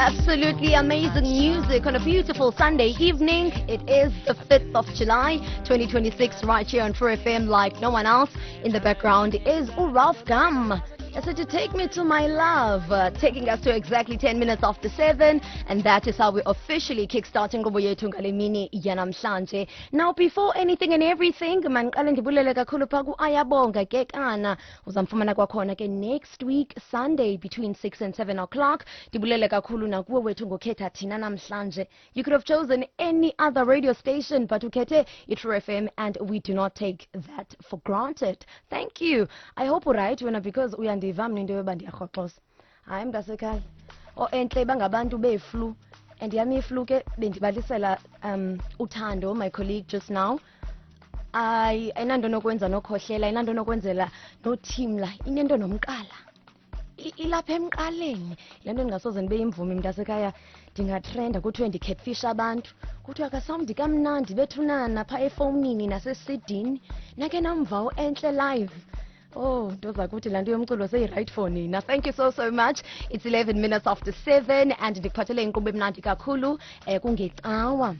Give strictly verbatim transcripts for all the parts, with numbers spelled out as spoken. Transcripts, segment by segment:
Absolutely amazing music on a beautiful Sunday evening. It is the fifth of July, twenty twenty-six, right here on True F M like no one else. In the background is Ralph Gum. I said to take me to my love, uh, taking us to exactly ten minutes after seven, and that is how we officially kickstart inkqubo yethu ngale mini yanamhlanje. Now, before anything and everything, mandiqale ndibulele kakhulu phaa ku-Ayabonga Kekana. Uzamfumana kwakhona ke next week, Sunday, between six and seven o'clock. Ndibulele kakhulu nakuwe wethu ngokhetha thina namhlanje. You could have chosen any other radio station, but ukhethe i-True F M, and we do not take that for granted. Thank you. I hope uright wena, because uyandiva mna into yoba ndiyarhoxoza. Hayi, mntasekhaya, o-entle bangabantu beeflu, and yam iflu ke bendibalisela um uThando, my colleague, just now. Ayi, ayinanto nokwenza nokhohlela, ayinanto nokwenzela nothimla, inento nomqala. I- ilapha emqaleni le nto. Ndingasoze ndibe yimvumi, mntasekhaya, ndingatrenda kuthiwe ndicatfish abantu, kuthiwe akasawundi kamnandi bethunana phaa efowunini nasesidini. Nake namva uEntle live. Oh, nto zakuthi laa nto yomculo seyi-right for nina. Thank you so, so much. It's eleven minutes after seven and ndikuphathele inkqubo emnandi kakhulu um kungecawa.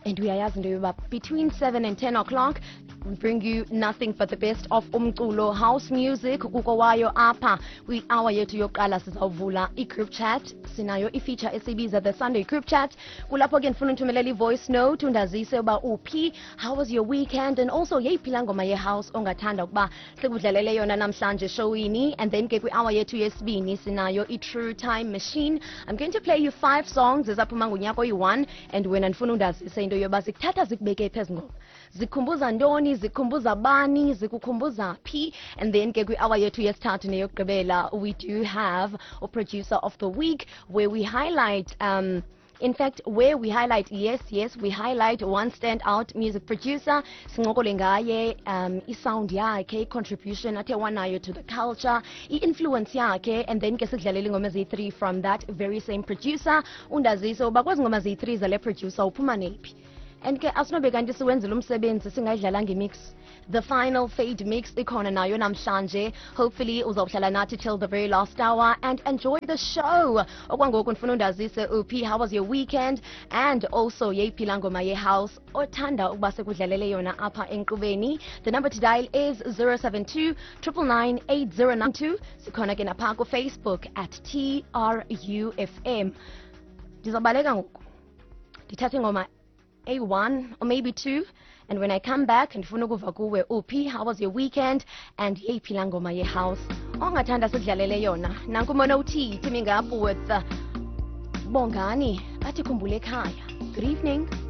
And uyayazi into yoba between seven and ten o'clock we bring you nothing but the best of umculo, house music kukowayo apha. Kwi-hour yethu yokuqala sizawuvula i-group chat. Sinayo i-feature esiyibiza the Sunday group chat. Kulapho ke ndifuna uthumelela i-voice note, undazise uba uphi, how was your weekend, and also yeyiphi laa ngoma ye-house ongathanda ukuba sikudlalele yona namhlanje showini. And then ke kwi-hour yethu yesibini sinayo i-True Time Machine. I'm going to play you five songs ezaphuma ngonyaka oyi-one, and wena ndifuna undazise into yoba zikuthatha zikubeke phezu ngoma, zikhumbuza ntoni, zikhumbuza bani, zikukhumbuza phi. And then ke kwi-hour yethu yesithathu neyokugqibela we do have a producer of the week, where we highlight um in fact, where we highlight, yes, yes, we highlight one standout music producer. Sincokole ngaye, um, isound yakhe, i-contribution athe wanayo to the culture, i-influence yakhe, and then ke sikudlalela ingoma eziyi-three from that very same producer. Undazise uba kwezi ngoma ziyi-three zale producer uphuma nephi. And ke asinobe kanti siwenzile umsebenzi singayidlalanga imix. The final fade mix ikhona nayo namhlanje. Hopefully uzawuhlala nathi till the very last hour and enjoy the show. Okwangoku ndifuna undazise uphi, how was your weekend, and also yeyiphi laa ngoma ye-house othanda ukuba sekudlalele yona apha enkqubeni. The number to dial is zero seven two nine nine nine eight zero nine two. Sikhona ke napha kuFacebook at T R U F M. Ndizobaleka ngoku ndithathe ingoma A one or maybe two, and when I come back ndifuna ukuva kuwe uphi, how was your weekend, and yeyiphi laa ngoma ye-house ongathanda sikudlalele yona. Nanku Mono T teaming up with uh, Bongani, bathi Khumbule Ekhaya. Good evening.